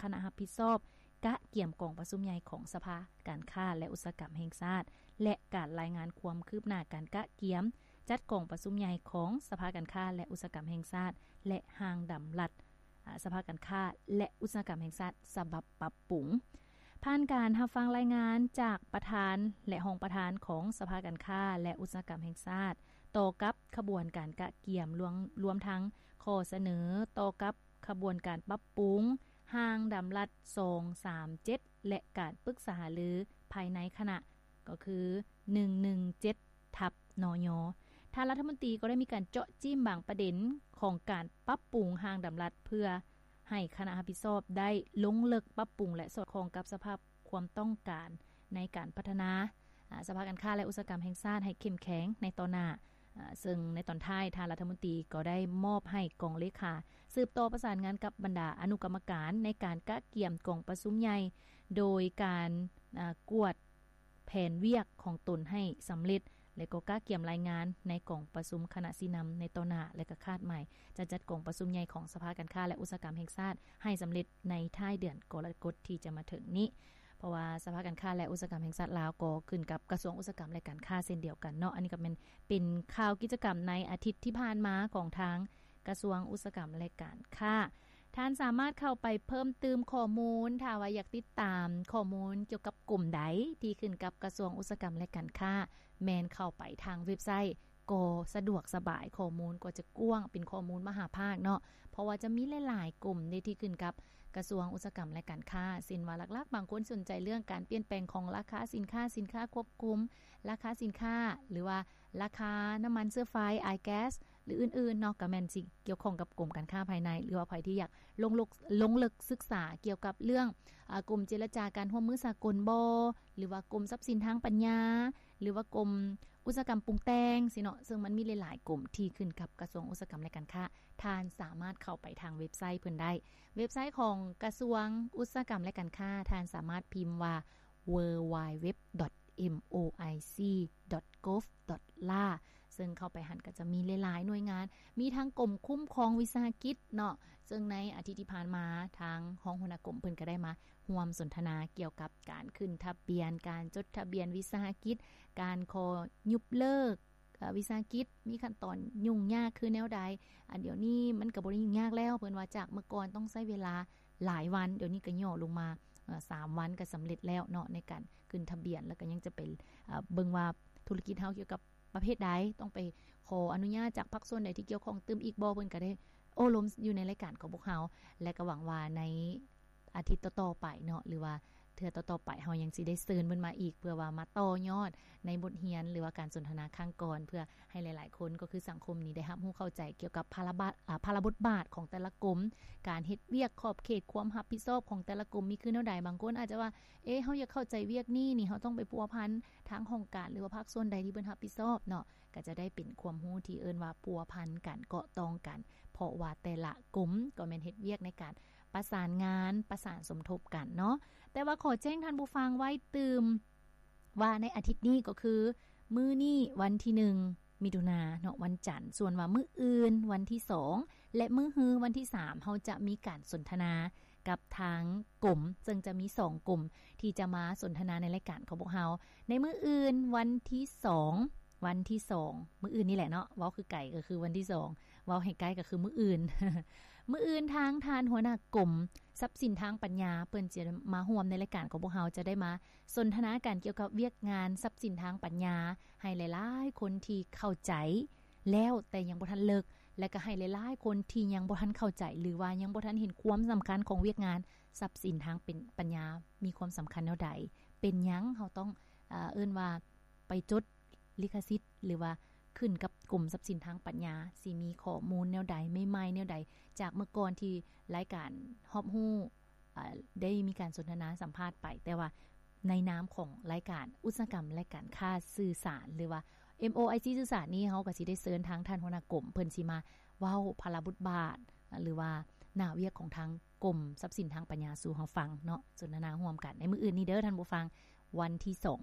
ະນະຮັບຜິດຊອບກະກຽມກອງປະຊຸມໃຫຍ່ຂອງສະພາການຄ້າ ແລະ ອຸດສາຫະກຳແຫ່ງຊາດ ແລະ ການລາຍງານຄວາມຄືບໜ້າການກະກຽມຈັດກອງປະຊຸມໃຫຍ່ຂອງສະພາການຄ້າ ແລະ ອຸດສາຫະກຳແຫ່ງຊາດ ແລະ ຮ່າງດຳລັດ ອາ ສະພາການຄ້າ ແລະ ອຸດສາຫະກຳແຫ່ງຊາດ ສະບັບປັບປຸງ. ຜ່ານການຮັບຟັງລາຍງານຈາກປະທານ ແລະ ຮອງປະທານຂອງສະພາການຄ້າ ແລະ ອຸດສາຫະກຳແຫ່ງຊາດ ຕໍ່ກັບຂະບວນການກະກຽມ ລວມ ລວມທັງຂໍ້ສະເໜີຕໍ່ກັບຂະບວນການປັບປຸງຮ່າງດຳລັດ ສອງສາມເຈັດ ແລະ ການປຶກສາຫາລືພາຍໃນຄະນະ ກໍຄື ໜຶ່ງໜຶ່ງເຈັດ ທັບ ນຍ. ທ່ານລັດຖະມົນຕີກໍໄດ້ມີການເຈາະຈີ້ມບາງປະເດັນຂອງການປັບປຸງຮ່າງດຳລັດ ເພື່ອໃຫ້ຄະນະຮັບຜິດຊອບໄດ້ລົງເລິກປັບປຸງ ແລະ ສອດຄ່ອງກັບສະພາບຄວາມຕ້ອງການໃນການພັດທະນາ ອາ ສະພາການຄ້າ ແລະ ອຸດສາຫະກຳແຫ່ງຊາດໃຫ້ເຂັ້ມແຂງໃນຕໍ່ໜ້າ. ອາ ເຊິ່ງໃນຕອນທ້າຍ ທ່ານລັດຖະມົນຕີກໍໄດ້ມອບໃຫ້ກອງເລຂາສືບຕໍ່ປະສານງານກັບບັນດາອະນຸກຳມະການໃນການກະກຽມກອງປະຊຸມໃຫຍ່ ໂດຍການ ອາ ກວດ ແຜນວຽກຂອງຕົນໃຫ້ສຳເລັດ ແລະ ກໍກະກຽມລາຍງານໃນກອງປະຊຸມຄະນະຊີ້ນຳໃນຕໍ່ໜ້າ ແລະ ກໍຄາດໝາຍຈະຈັດກອງປະຊຸມໃຫຍ່ຂອງສະພາການຄ້າ ແລະ ອຸດສາຫະກຳແຫ່ງຊາດໃຫ້ສຳເລັດໃນທ້າຍເດືອນກໍລະກົດທີ່ຈະມາເຖິງນີ້. ເພາະວ່າສະພາການຄ້າ ແລະ ອຸດສາຫະກຳແຫ່ງຊາດລາວກໍຂຶ້ນກັບກະຊວງອຸດສາຫະກຳ ແລະ ການຄ້າເຊັ່ນດຽວກັນເນາະ. ອັນນີ້ກໍແມ່ນເປັນຂ່າວກິດຈະກຳໃນອາທິດທີ່ຜ່ານມາຂອງທາງ ກະຊວງອຸດສາຫະກຳ ແລະ ການຄ້າ. ທ່ານສາມາດເຂົ້າໄປເພີ່ມຕື່ມຂໍ້ມູນ ຖ້າວ່າຢາກຕິດຕາມຂໍ້ມູນກ່ຽວກັບກົມໃດທີ່ຂຶ້ນກັບກະຊວງອຸດສາຫະກຳ ແລະ ການຄ້າ ແມ່ນເຂົ້າໄປທາງເວັບໄຊ ກໍສະດວກສະບາຍ, ຂໍ້ມູນກໍຈະກວ້າງ, ເປັນຂໍ້ມູນມະຫາພາກເນາະ, ເພາະວ່າຈະມີຫຼາຍໆກົມເດ້ທີ່ຂຶ້ນກັບກະຊວງອຸດສາຫະກຳ ແລະ ການຄ້າ, ເຊັ່ນວ່າຫຼັກໆ ບາງຄົນສົນໃຈເລື່ອງການປ່ຽນແປງຂອງລາຄາສິນຄ້າ, ສິນຄ້າຄວບຄຸມ, ລາຄາສິນຄ້າ ຫຼືວ່າ ລາຄານ້ຳມັນເຊື້ອໄຟ, ອາຍແກັສ ຫຼື ອື່ນໆເນາະ, ກໍແມ່ນຊິກ່ຽວຂ້ອງກັບກົມການຄ້າພາຍໃນ ຫຼືວ່າໃຜທີ່ຢາກລົງເລິກ ລົງເລິກສຶກສາກ່ຽວກັບເລື່ອງ ອາ ກົມເຈລະຈາການຮ່ວມມືສາກົນບໍ ຫຼືວ່າກົມຊັບສິນທາງປັນຍາ ຫຼືວ່າກົມອຸດສາຫະກຳປຸງແຕ່ງຊີ້ເນາະ, ເຊິ່ງມັນມີຫຼາຍໆກົມທີ່ຂຶ້ນກັບກະຊວງອຸດສາຫະກຳ ແລະ ການຄ້າ, ທ່ານສາມາດເຂົ້າໄປທາງເວັບໄຊເພິ່ນໄດ້. ເວັບໄຊຂອງກະຊວງອຸດສາຫະກຳ ແລະ ການຄ້າ, ທ່ານສາມາດພິມວ່າ ดับเบิลยู ดับເบิลยู ດັບເບິນຢູ ດັບເບິນຢູ ດັບເບິນຢູ ດັບເບິນຢູ gov dot la ເຊິ່ງເຂົ້າໄປຫັ້ນກໍຈະມີຫຼາຍໆໜ່ວຍງານ, ມີທັງກົມຄຸ້ມຄອງວິສາຫະກິດເນາະ, ເຊິ່ງໃນອາທິດທີ່ຜ່ານມາ ທາງຮອງຫົວໜ້າກົມເພິ່ນກໍໄດ້ມາຮ່ວມສົນທະນາກ່ຽວກັບການຂຶ້ນທະບຽນ, ການຈົດທະບຽນວິສາຫະກິດ, ການຂໍຍຸບເລີກ ເອີ ວິສາຫະກິດ ມີຂັ້ນຕອນຫຍຸ້ງຍາກຄືແນວໃດ. ອັນດຽວນີ້ມັນກໍບໍ່ໄດ້ຫຍຸ້ງຍາກແລ້ວ, ເພິ່ນວ່າຈາກເມື່ອກ່ອນຕ້ອງໃຊ້ເວລາຫຼາຍວັນ, ດຽວນີ້ກໍຫຍໍ້ລົງມາ ເອີ ສາມວັນກໍສຳເລັດແລ້ວເນາະ ໃນການຂຶ້ນທະບຽນ, ແລ້ວກໍຍັງຈະໄປ ເອີ ເບິ່ງວ່າທຸລະກິດເຮົາກ່ຽວກັບປະເພດໃດ, ຕ້ອງໄປຂໍອະນຸຍາດຈາກພາກສ່ວນໃດທີ່ກ່ຽວຂ້ອງຕື່ມອີກບໍ່, ເພິ່ນກໍໄດ້ໂອ້ລົມຢູ່ໃນລາຍການຂອງພວກເຮົາ ແລະ ກໍຫວັງວ່າໃນ ອາທິດຕໍ່ໆໄປເນາະ ຫຼືວ່າເທື່ອຕໍ່ໆໄປ ເຮົາຍັງຊິໄດ້ເຊີນເພິ່ນມາອີກ ເພື່ອວ່າມາຕໍ່ຍອດໃນບົດຮຽນ ຫຼືວ່າການສົນທະນາຄັ້ງກ່ອນ ເພື່ອໃຫ້ຫຼາຍໆຄົນ ກໍຄືສັງຄົມນີ້ໄດ້ຮັບຮູ້ເຂົ້າໃຈກ່ຽວກັບພາລະບາດ ອາ ພາລະບົດບາດຂອງແຕ່ລະກົມ, ການເຮັດວຽກ, ຂອບເຂດຄວາມຮັບຜິດຊອບຂອງແຕ່ລະກົມມີຄືແນວໃດ. ບາງຄົນອາດຈະວ່າ ເອ ເຮົາຢາກເຂົ້າໃຈວຽກນີ້ນີ້ ເຮົາຕ້ອງໄປພົວພັນທາງຫ້ອງການ ຫຼືວ່າພາກສ່ວນໃດທີ່ເພິ່ນຮັບຜິດຊອບເນາະ, ກໍຈະໄດ້ເປັນຄວາມຮູ້ທີ່ເອີ້ນວ່າພົວພັນກັນ, ເກາະຕ້ອງກັນ, ເພາະວ່າແຕ່ລະກົມກໍແມ່ນເຮັດວຽກໃນການ ປະສານງານ ປະສານສົມທົບກັນເນາະ. ແຕ່ວ່າຂໍແຈ້ງທ່ານຜູ້ຟັງໄວ້ຕື່ມວ່າໃນອາທິດນີ້ກໍຄືມື້ນີ້ວັນທີໜຶ່ງມິຖຸນາເນາະ ວັນຈັນ, ສ່ວນວ່າມື້ອື່ນວັນທີສອງ ແລະ ມື້ຮືວັນທີສາມ ເຮົາຈະມີການສົນທະນາກັບທາງກົມ, ເຊິ່ງຈະມີສອງກົມທີ່ຈະມາສົນທະນາໃນລາຍການຂອງພວກເຮົາ. ໃນມື້ອື່ນວັນທີສອງ ວັນທີສອງ ມື້ອື່ນນີ້ແຫຼະເນາະ, ເວົ້າຄືໄກກໍຄືວັນທີສອງ ເວົ້າໃຫ້ໃກ້ກໍຄືມື້ອື່ນ. ມື້ອື່ນທາງທ່ານຫົວໜ້າກົມຊັບສິນທາງປັນຍາ ເພິ່ນຈະມາຮ່ວມໃນລາຍການຂອງພວກເຮົາ, ຈະໄດ້ມາສົນທະນາກັນກ່ຽວກັບວຽກງານຊັບສິນທາງປັນຍາ ໃຫ້ຫຼາຍໆຄົນທີ່ເຂົ້າໃຈແລ້ວ ແຕ່ຍັງບໍ່ທັນເລິກ ແລະ ກໍໃຫ້ຫຼາຍໆຄົນທີ່ຍັງບໍ່ທັນເຂົ້າໃຈ ຫຼືວ່າຍັງບໍ່ທັນເຫັນຄວາມສຳຄັນຂອງວຽກງານຊັບສິນທາງເປັນ ປັນຍາ ມີຄວາມສຳຄັນແນວໃດ, ເປັນຫຍັງເຮົາຕ້ອງ ເອີ ເອີ້ນວ່າ ໄປຈົດລິຂະສິດ ຫຼືວ່າຂຶ້ນກັບກົມຊັບສິນທາງປັນຍາ ຊິມີຂໍ້ມູນແນວໃດ ໃໝ່ໆແນວໃດ ຈາກເມື່ອກ່ອນທີ່ລາຍການຮອບຮູ້ ອາ ໄດ້ມີການສົນທະນາສຳພາດໄປ, ແຕ່ວ່າໃນນາມຂອງລາຍການອຸດສາຫະກຳ ແລະ ການຄ້າສື່ສານ ຫຼືວ່າ ເອັມໂອໄອຊີ ສື່ສານນີ້ ເຮົາກໍຊິໄດ້ເຊີນທາງທ່ານຫົວໜ້າກົມ ເພິ່ນຊິມາເວົ້າພາລະບົດບາດ ຫຼືວ່າໜ້າວຽກຂອງທາງກົມຊັບສິນທາງປັນຍາສູ່ເຮົາຟັງເນາະ, ສົນທະນາຮ່ວມກັນໃນມື້ອື່ນນີ້ເດີທ່ານຜູ້ຟັງ, ວັນທີສອງ